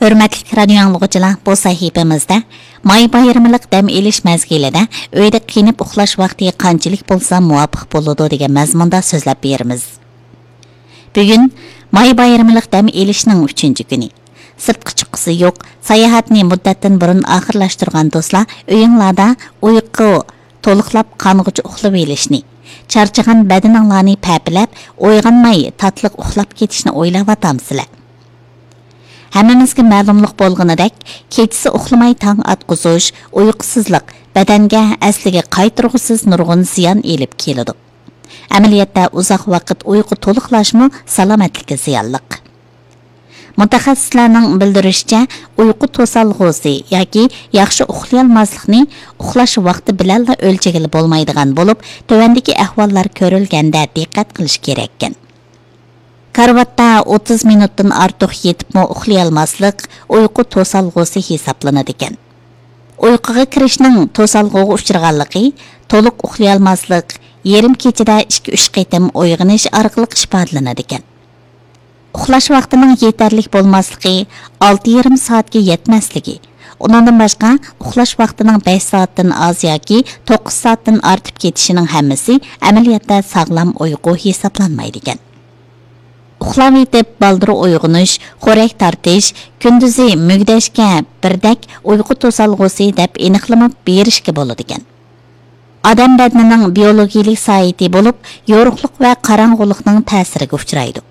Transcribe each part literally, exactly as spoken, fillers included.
ھۆرمەتلىك رادىيو ئاڭلىغۇچىلار، بۇ سەھىپىمىزدە ماي بايرىمىلىق دەم ئېلىش مەزگىلىدە ئۆيدە قېنىپ ئۇخلاش ۋاقتى قانچىلىك بولسا مۇۋاپىق بولىدۇ دېگەن مەزمۇندا سۆزلەپ بېرىمىز. بۈگۈن ماي بايرىمىلىق دەم ئېلىشنىڭ ئۈچىنچى كۈنى. سىرتقا چىققۇسى يوق، ساياھەتنى مۇددەتتىن بۇرۇن ئاخىرلاشتۇرغان دوستلار ئۆيۈڭلاردا ئۇيقۇ تولۇقلاپ قانغۇچە ئۇخلىۋېلىشنى، چارچىغان بەدىنىڭلارنى پەپىلەپ، ئويغانماي تاتلىق ئۇخلاپ كېتىشنى ئويلاۋاتامسىلەر؟ ھەممىمىزگە مەلۇملۇق بولغىنىدەك، كېچىسى ئۇخلىماي تاڭ ئاتقۇزۇش، ئۇيقۇسىزلىق بەدەنگە ئەسلىگە قايتۇرغۇسىز نۇرغۇن زىيان ئېلىپ كېلىدۇ. ئەمەلىيەتتە ئۇزاق ۋاقىت ئۇيقۇ تولۇقلاشمۇ سالامەتلىككە زىيانلىق. مۇتەخەسسىسلەرنىڭ بىلدۈرۈشىچە، ئۇيقۇ توسالغۇسى ياكى ياخشى ئۇخلىيالماسلىقنى ئۇخلاش ۋاقتى بىلەنلا ئۆلچىگىلى بولمايدىغان بولۇپ، تۆۋەندىكى ئەھۋاللار كۆرۈلگەندە دىققەت قىلىش كېرەككەن. كارىۋاتتا ئوتتۇز مىنۇتتىن ئارتۇق يېتىپمۇ ئۇخلىيالماسلىق ئۇيقۇ توسالغۇسى ھېسابلىنىدىكەن. ئۇيقۇغا كىرىشنىڭ توسالغۇغا ئۇچرىغانلىقى، تولۇق ئۇخلىيالماسلىق، يېرىم كېچىدە ئىككى، ئۈچ قېتىم ئويغىنىش ئارقىلىق ئىپادىلىنىدىكەن. ئۇخلاش ۋاقتىنىڭ يېتەرلىك بولماسلىقى، ئالتە يېرىم سائەتكە يەتمەسلىكى، ئۇنىڭدىن باشقا، ئۇخلاش ۋاقتىنىڭ بەش سائەتتىن ئاز ياكى توققۇز سائەتتىن ئارتىپ كېتىشىنىڭ ھەممىسى ئەمەلىيەتتە ساغلام ئۇيقۇ ھېسابلانمايدىكەن. ئۇخلاۋېتىپ بالدۇر ئويغىنىش، خورەك تارتىش، كۈندۈزى مۈگدەشكە بىردەك ئۇيقۇ توسالغۇسى دەپ ئېنىقلىما بېرىشكە بولىدىكەن. ئادەم بەدىنىنىڭ بىيولوگىيىلىك سائىتى بولۇپ، يورۇقلۇق ۋە قاراڭغۇلۇقنىڭ تەسىرىگە ئۇچرايدۇ.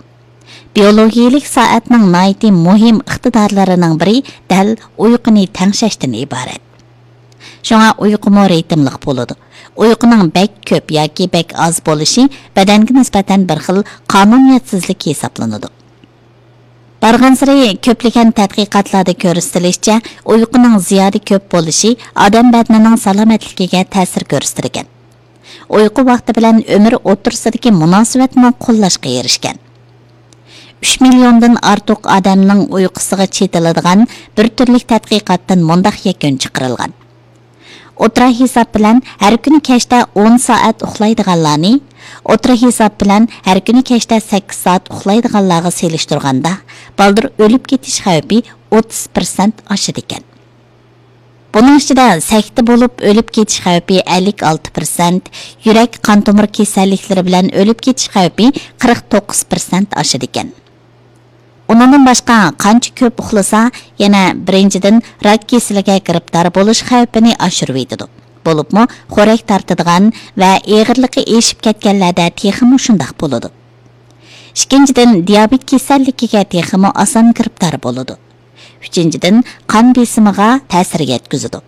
بىيولوگىيىلىك سائەتنىڭ ناھايىتى مۇھىم ئىقتىدارلىرىنىڭ بىرى دەل ئۇيقۇنى تەڭشەشتىن ئىبارەت. شۇڭا ئۇيقۇمۇ رىتىملىق بولىدۇ. ئۇيقۇنىڭ بەك كۆپ ياكى بەك ئاز بولۇشى بەدەنگە نىسبەتەن بىر خىل قانۇنىيەتسىزلىك ھېسابلىنىدۇ. بارغانسېرى كۆپلىگەن تەتقىقاتلاردا كۆرسىتىلىشىچە، ئۇيقۇنىڭ زىيادە كۆپ بولۇشى ئادەم بەدىنىنىڭ سالامەتلىكىگە تەسىر كۆرسىتىدىكەن. ئۇيقۇ ۋاقتى بىلەن ئۆمۈر ئوتتۇرىسىدىكى مۇناسىۋەتمۇ قوللاشقا ئېرىشكەن. ئۈچ مىليوندىن ئارتۇق ئادەمنىڭ ئۇيقۇسىغا چېتىلىدىغان بىر تۈرلۈك تەتقىقاتتىن مۇنداق يەكۈن چىقىرىلغان. ئوتتۇرا ھېساب بىلەن ھەر كۈنى كەچتە ئون سائەت ئۇخلايدىغانلارنى، ئوتتۇرا ھېساب بىلەن ھەر كۈنى كەچتە سەككىز سائەت ئۇخلايدىغانلارغا سېلىشتۇرغاندا، بالدۇر ئۆلۈپ كېتىش خەۋپى ئوتتۇز پىرسەنت ئاشىدىكەن. بۇنىڭ ئىچىدە سەكتە بولۇپ ئۆلۈپ كېتىش خەۋپى ئەللىك ئالتە پىرسەنت، يۈرەك، قان تومۇر كېسەللىكلىرى بىلەن ئۆلۈپ كېتىش خەۋپى قىرىق توققۇز پىرسەنت ئاشىدىكەن. ئۇنىڭدىن باشقا، قانچە كۆپ ئۇخلىسا، يەنە بىرىنچىدىن، راك كېسىلىگە گىرىپتار بولۇش خەۋپىنى ئاشۇرۇۋېتىدۇ. بولۇپمۇ خورەك تارتىدىغان ۋە ئېغىرلىقى ئېشىپ كەتكەنلەردە تېخىمۇ شۇنداق بولىدۇ. ئىككىنچىدىن، دىيابېت كېسەللىكىگە تېخىمۇ ئاسان گىرىپتار بولىدۇ. ئۈچىنچىدىن، قان بېسىمىغا تەسىر يەتكۈزىدۇ.